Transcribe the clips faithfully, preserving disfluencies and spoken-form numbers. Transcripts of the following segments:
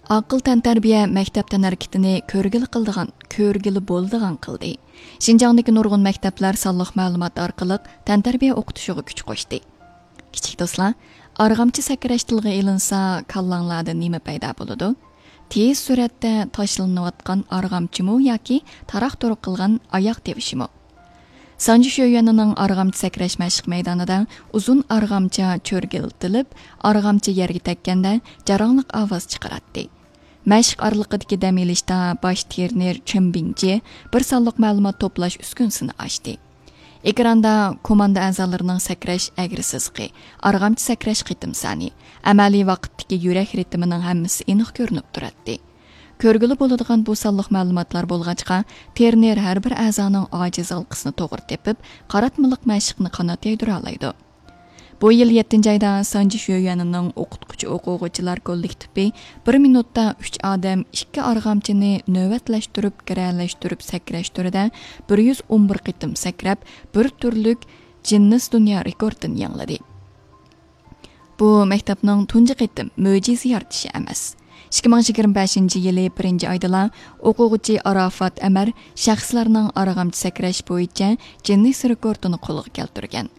ئاقىل تەنتەربىيە مەكتەپ تەنھەرىكىتىنى كۆرگىلى قىلىدىغان، كۆرگىلى بولىدىغان قىلدى. شىنجاڭدىكى نۇرغۇن مەكتەپلەر سانلىق مەلۇمات ئارقىلىق تەنتەربىيە ئوقۇتۇشىغا كۈچ قوشتى. كىچىك دوستلار، ئارغامچا سەكرەش تىلغا ئېلىنسا، كاللاڭلاردا نېمە پەيدا بولىدۇ؟ تېز سۈرئەتتە تاشلىنىۋاتقان ئارغامچىمۇ ياكى تاراق-تۇرۇق قىلغان ئاياق تىۋىشىمۇ؟ سانجى شۆيۈەنىنىڭ ئارغامچا سەكرەش مەشىق مەيدانىدا ئۇزۇن ئارغامچا چۆرگىلىتىلىپ، ئارغامچا يەرگە تەگكەندە جاراڭلىق ئاۋاز چىقىراتتى. مەشىق ئارىلىقىدىكى دەم ئېلىشتا باش ترېنېر چېن بىڭجې بىر سانلىق مەلۇمات توپلاش ئۈسكۈنىسىنى ئاچتى. ئېكراندا كوماندا ئەزالىرىنىڭ سەكرەش ئەگرى سىزىقى، ئارغامچا سەكرەش قېتىم سانى، ئەمەلىي ۋاقىتتىكى يۈرەك رىتىمىنىڭ ھەممىسى ئېنىق كۆرۈنۈپ تۇراتتى. كۆرگىلى بولىدىغان بۇ سانلىق مەلۇماتلار بولغاچقا، ترېنېر ھەر بىر ئەزانىڭ ئاجىز ھالقىسىنى توغرا تېپىپ، قاراتمىلىق مەشىقنى قانات يايدۇرالايدۇ. بۇ يىل يەتتىنچى ئايدا سانجى شۆيۈەنىنىڭ ئوقۇتقۇچى ئوقۇغۇچىلار كوللېكتىپى بىر مىنۇتتا ئۈچ ئادەم ئىككى ئارغامچىنى نۆۋەتلەشتۈرۈپ، گىرەلەشتۈرۈپ سەكرەش تۈرىدە بىر يۈز ئون بىر قېتىم سەكرەپ، بىر تۈرلۈك جىننېس دۇنيا رېكورتىنى يېڭىلىدى. بۇ مەكتەپنىڭ تۇنجى قېتىم مۆجىزە يارىتىشى ئەمەس. ئىككى مىڭ يىگىرمە بەشىنچى يىلى بىرىنچى ئايدىلا ئوقۇغۇچى ئاراپات ئەمەر شەخسلەرنىڭ ئارغامچا سەكرەش بويىچە جىننېس رېكورتىنى قولغا كەلتۈرگەن.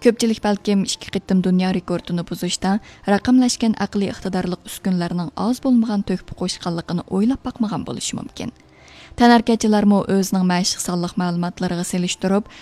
كۆپچىلىك بەلكىم ئىككى قېتىم دۇنيا رېكورتىنى بۇزۇشتا رەقەملەشكەن ئەقلىي ئىقتىدارلىق ئۈسكۈنىلەرنىڭ ئاز بولمىغان تۆھپە قوشقانلىقىنى ئويلاپ باقمىغان بولۇشى مۇمكىن. تەنھەرىكەتچىلەرمۇ ئۆزىنىڭ مەشىق سانلىق مەلۇماتلىرىغا سېلىشتۇرۇپ،